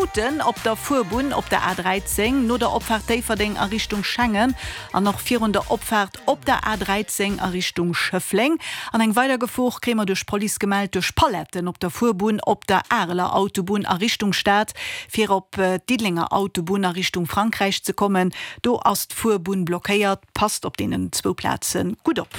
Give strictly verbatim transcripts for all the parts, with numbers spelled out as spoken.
Tuten op der Fuerbunn op der A dräizéng no der Opfaart Déifferdeng a Richtung Schengen an och virun der Opfaart op der A dräizéng a Richtung Schëffleng. An eng weider Gefor kréie mer duerch d'Police gemellt duerch Paletten op der Fuerbunn op der Areler Autobunn a Richtung Stad. Fir op d'Diddelenger Autobunn a Richtung Frankräich ze kommen, do ass d'Fuerbunn blockéiert. Passt op deenen zwou Plaze gutt op.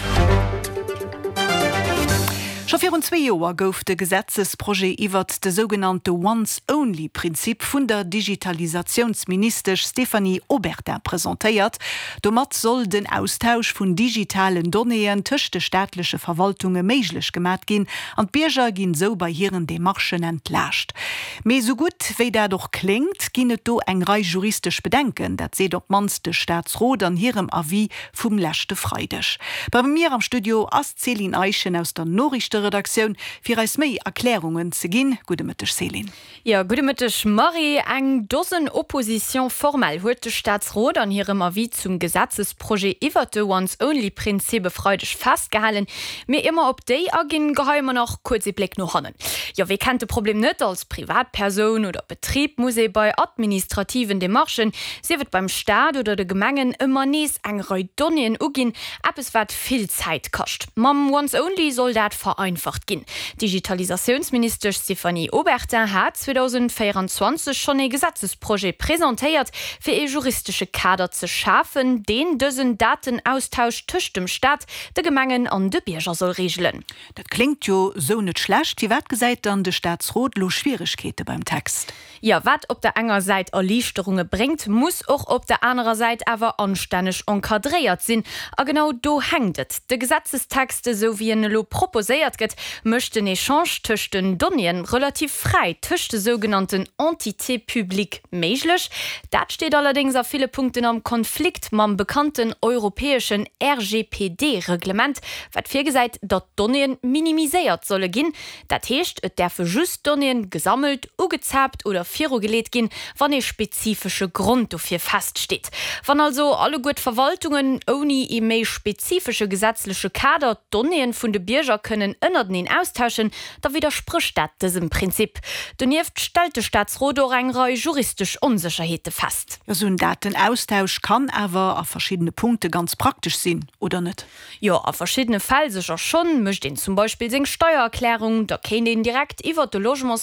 Scho virun zwee Joer gouf de Gesetzesprojet iwwert de sougenannte Once-Only-Prinzip vun der Digitalisatiounsministesch Stéphanie Obertin presentéiert. Domat soll den Austausch vun digitalen Donnéeën tëscht de staatleche Verwaltunge méiglech gemat ginn an d'Bierger ginn esou bei hiren Demarchen entlaascht. Mee esou gutt wéi dat och kléngt, ginn et do eng Rei juristesch Bedenken. Dat seet op d'mannst de Staatsrot an hirem Avis vum leschte Freideg. Bei mir am Studio ass d'Céline Eischen aus der Noriichteredaktioun, fir eis méi Erklärungen ze ginn. Gudde Mëtteg Céline. Jo, gudde Mëtteg Marie. Eng Dosen Oppositions formelles huet de Staatsrot an hirem Avis zum Gesetzesprojet iwwert de Once-Only-Prinzip e Freideg festgehalen. Mee ier mer op déi aginn, geheie mer nach kuerz ee Bléck no hannen. Jo, wie kennt de Problem net, Als Privatpersoun oder Betrib muss ee bei administrativen Demarchen, sief et beim Staat oder de Gemengen, ëmmer nees eng Rei Donnéeën uginn, eppes wat vill Zäit kascht. Mam Once-Only soll dat vereinfacht ginn. D'Digitalisatiounsministesch Stéphanie Obertin hat zweedausendvéierenzwanzeg schonn ee Gesetzesprojet presentéiert, fir ee juristesche Kader ze schafen, deen dësen Datenaustausch tëscht dem Staat, de Gemengen an de Bierger soll reegelen. Dat kléngt jo sou net schlecht. Firwat gesäit dann de Staatsrot lo Schwieregkeete beim Text? Jo, wat op der enger Säit Erliichterunge bréngt, muss och op der anerer Säit awer anstänneg encadréiert sinn. A genau do hänkt et. De Gesetzestext, esou wéi en elo proposéiert gëtt, mécht den Echange tëscht den Donnéeën relativ fräi tëscht de sougenannten Entités publiques méiglech. Dat steet allerdéngs a ville Punkten am Konflikt mam bekannten europäeschen R G P D-Reglement, wat virgesäit, datt d'Donnéeën minimiséiert solle ginn. Dat heescht, et däerfe just Donnéeën gesammelt, ugezaapt oder virugeleet ginn, wann ee spezifesche Grond dofir feststeet. Wann also alleguer d'Verwaltungen ouni ee méi spezifesche gesetzleche Kader d'Donnéeën vun de Bierger kënnen ënnerteneen austauschen, da widdersprécht dat dësem Prinzip. Donieft stellt de Staatsrot och eng Rei juristesch Onsécherheete fest. Jo, sou en Datenaustausch kann awer a verschiddene Punkte ganz praktesch sinn, oder net? Jo, a verschiddene Fäll sécher schonn. Mécht een zum Beispill seng Steiererklärung, da kéint een direkt iwwert de Logements.